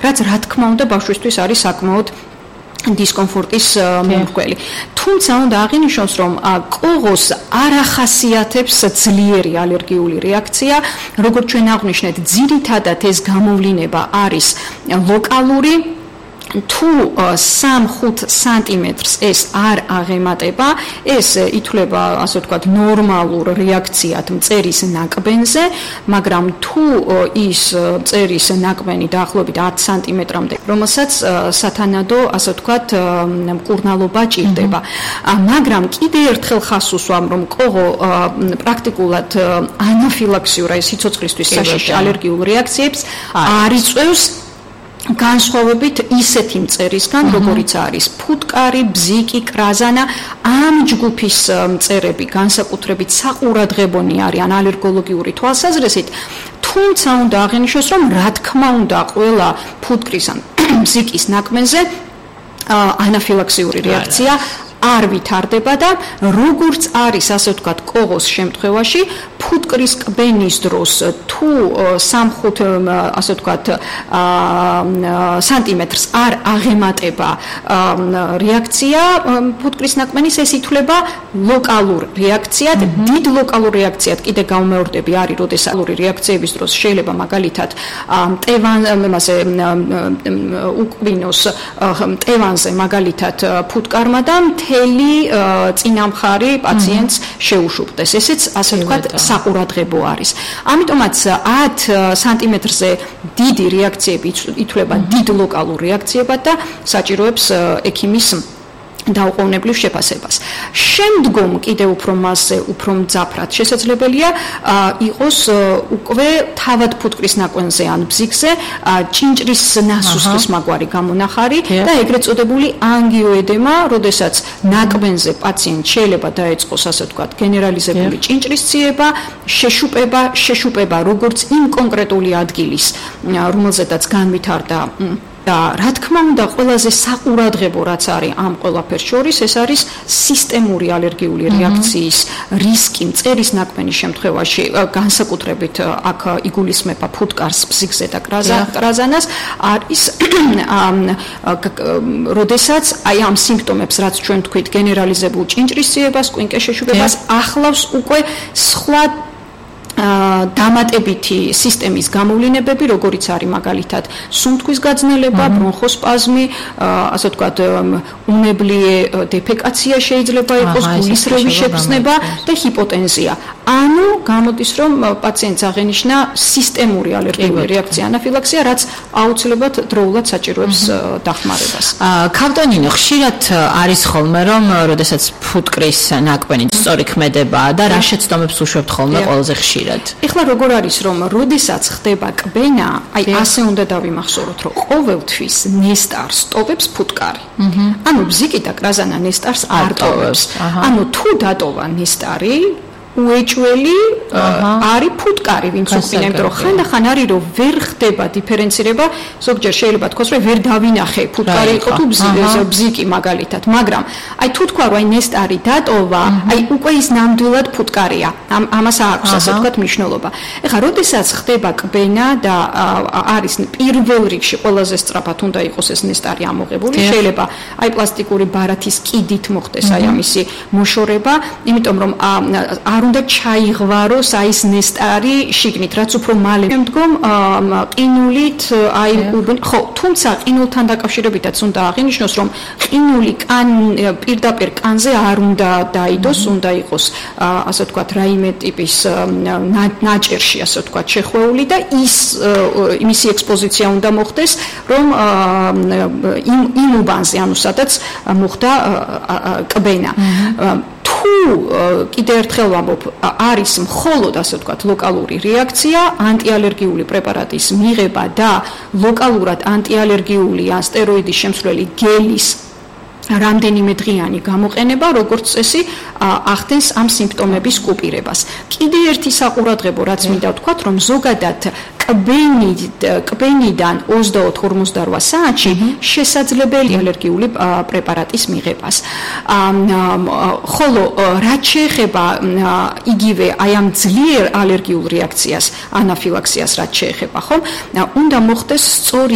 რაც რა თქმა უნდა ბავშვისთვის არის საკმაოდ დისკომფორტის მომრკველი. თუმცა უნდა აღინიშნოს, რომ კოღოს არ ახასიათებს ძლიერი ალერგიული რეაქცია, როგორც ჩვენ აღვნიშნეთ, ძირითადად ეს გამოვლინება არის ლოკალური. თუ 3-5 სანტიმეტრს ეს არ აღემატება, ეს ითვლება, ასე ვთქვათ, ნორმალურ რეაქციად მწერის ნაკბენზე, მაგრამ თუ ის მწერის ნაკბენი დაახლოებით 10 სანტიმეტრამდე, რომელსაც სათანადო, ასე ვთქვათ, მკურნალობა ჭირდება. მაგრამ კიდე ერთხელ ხაზს უსვამ, რომ კოღო პრაქტიკულად ანაფილაქსიურ, აი სიცოცხლისთვის საშიში ალერგიულ რეაქციებს არ იწვევს განსხვავებით ისეთი მწერისგან, როგორიც არის ფუტკარი, ბზიკი, კრაზანა, ამ ჯგუფის მწერები განსაკუთრებით საყურადღებონი არიან ალერგოლოგიური თვალსაზრისით, თუმცა უნდა აღინიშნოს, რომ რა თქმა უნდა ყველა ფუტკრის ან ბზიკის ნაკბენზე ანაფილაქსიური რეაქცია არ ვითარდება და როგორც არის, ასე ვთქვათ, კოღოს შემთხვევაში, ფუტკრის კბენის დროს თუ 3-5, ასე ვთქვათ, სანტიმეტრს არ აღემატება რეაქცია ფუტკრის ნაკბენის, ეს ითვლება ლოკალურ რეაქციად. დიდ ლოკალურ რეაქციად კიდე გამომეორდები არის, როდეს ალერგიული რეაქციების დროს შეიძლება მაგალითად უკბინოს მტევანზე მაგალითად ფუტკარმა და მთელი წინამხარი პაციენტს შეუშუპდეს. ესეც ასე ვთქვათ საყურადღებო არის. ამიტომაც 10 სანტიმეტრზე დიდი რეაქციები ითვლება დიდ ლოკალურ რეაქციებად და საჭიროებს ექიმის დაუყოვნებლივ შეფასებას. შემდგომ კიდევ უფრო მასზე, უფრო მძაფრად შესაძლებელია იყოს უკვე თავად ფუტკრის ნაკბენზე ან ბზიკზე ჭინჭრის ნასუსხის მაგვარი გამონახარი და ეგრეთ წოდებული ანგიოედემა, როდესაც ნაკბენზე პაციენტს შეიძლება დაეწყოს, ასე ვთქვათ, გენერალიზებული ჭინჭრის ციება, შეშუპება როგორც იმ კონკრეტული ადგილის, რომელზედაც განვითარდა და რა თქმა უნდა ყველაზე საყურადღებო რაც არის ამ ყველაფერს შორის, ეს არის სისტემური ალერგიული რეაქციის რისკი მწერის ნაკბენის შემთხვევაში, განსაკუთრებით აქ იგულისხმება ფუტკარს, ბზიკზე და კრაზანას, არის როდესაც აი ამ სიმპტომებს, რაც ჩვენ თქვით, გენერალიზებულ ჭინჭრის ციებას, კვინკეს შეშუპებას, ახლავს უკვე სხვა დამატებითი სისტემის გამოვლინებები, როგორიც არის მაგალითად სუნთქვის გაძნელება, ბრონხოსპაზმი, ასე ვთქვათ, უნებლიე დეფეკაცია შეიძლება იყოს, გულისრევის შეგრძნება და ჰიპოტენზია. ანუ გამოდის, რომ პაციენტს აღენიშნა სისტემური ალერგიული რეაქცია, ანაფილაქსია, რაც აუცილებლად დროულად საჭიროებს დახმარებას. ქავტონინო, ხშირად არის ხოლმე, რომ როდესაც ფუტკრის ნაკბენი სწორი ქმედებაა და რა შეცდომებს უშვებთ ხოლმე ყველაზე ხშირად? ეხლა როგორ არის, რომ როდესაც ხდება კბენა, აი ასე უნდა დავიმახსოვროთ, რომ ყოველთვის ნესტარს ტოვებს ფუტკარი. ანუ ბზიკი და კრაზანა ნესტარს არ ტოვებს. ანუ თუ დატოვა ნესტარი, უეჭველი არის ფუტკარი, ვინც უყინა, იმიტომ რომ ხანდახან არის, რომ ვერ ხდება დიფერენცირება, ზოგჯერ შეიძლება თქვას, რომ ვერ დავინახე ფუტკარი იყო თუ ბზიკი მაგალითად, მაგრამ აი თუ თქვა, რომ აი ნესტარი დატოვა, აი უკვე ის ნამდვილად ფუტკარია. ამას აქვს, ასე ვთქვათ, მნიშვნელობა. ეხლა, როდესაც ხდება კბენა და არის პირველ რიგში ყველაზე სწრაფად უნდა იყოს ეს ნესტარი ამოღებული, შეიძლება აი პლასტიკური ბარათის კიდით მოხდეს აი ამისი მოშორება, იმიტომ რომ არ უნდა ჩაიღვაროს აი ეს ნესტარი შიგნით, რაც უფრო მალე შემდგომ ყინულით აი ხო, თუმცა ყინულთან დაკავშირებითაც უნდა აღინიშნოს, რომ ყინული პირდაპირ კანზე არ უნდა დაიდოს, უნდა იყოს ასე ვთქვათ რაიმე ტიპის ნაჭერში, ასე ვთქვათ, შეხვეული და მისი ექსპოზიცია უნდა მოხდეს, რომ იმ უბანზე, ანუ სადაც მოხდა კბენა. თუ კიდე ერთხელ ვამბობ, არის მხოლოდ, ასე ვთქვათ, ლოკალური რეაქცია, ანტიალერგიული პრეპარატის მიღება და ლოკალურად ანტიალერგიული ან სტეროიდის შემცვლელი გელის რამდენიმე დღიანი გამოყენება, როგორც წესი, ახდენს ამ სიმპტომების კუპირებას. კიდე ერთი საყურადღებო, რაც მინდა ვთქვათ, რომ ზოგადად კბენიდან 24-48 საათში შესაძლებელია ალერგიული პრეპარატის მიღებას. ხოლო რაც შეეხება იგივე აი ამ ძლიერ ალერგიულ რეაქციას, ანაფილაქსიას, რაც შეეხება, ხომ, უნდა მოხდეს სწორი